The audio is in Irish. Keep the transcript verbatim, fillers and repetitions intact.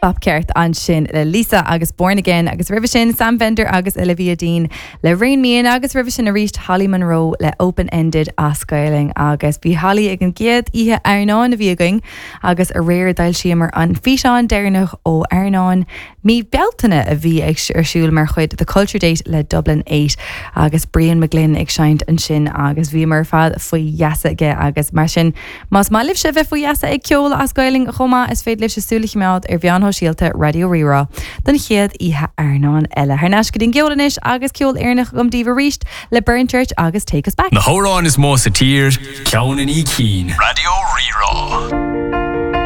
Stop ceart ansin le Lisa agus Born Again agus roimhe sin Sam Fender agus Olivia Dean le Rain Mian agus roimhe sin arís Holly Monroe le Open Ended as Gaeilge agus bhí Holly ag an gcéad oíche Airneáin a bhí againn agus aréir d'fhoilsíomar an físeán deireanach ó Airneán mí Bealtaine a bhí ag ar siúl mar chuid the Culture Date le Dublin eight agus Brian McGlynn ag seinnt ansin agus bhí mar fad faoi gheasa aige agus mar sin más maith libh bheith faoi gheasa ag ceol as Gaeilge chomh maith is féidir libh súil a choimeád ar mheáin shóisialta Raidió Rí-Rá don chéad oíche Airneáin eile. Thar n-ais go dtí an gceol anois agus ceol Éireannach agam daoibh arís le Burn Church agus Take Us Back. Na hamhráin is mó sa tír, ceann i ndiaidh cinn. Raidió Rí-Rá.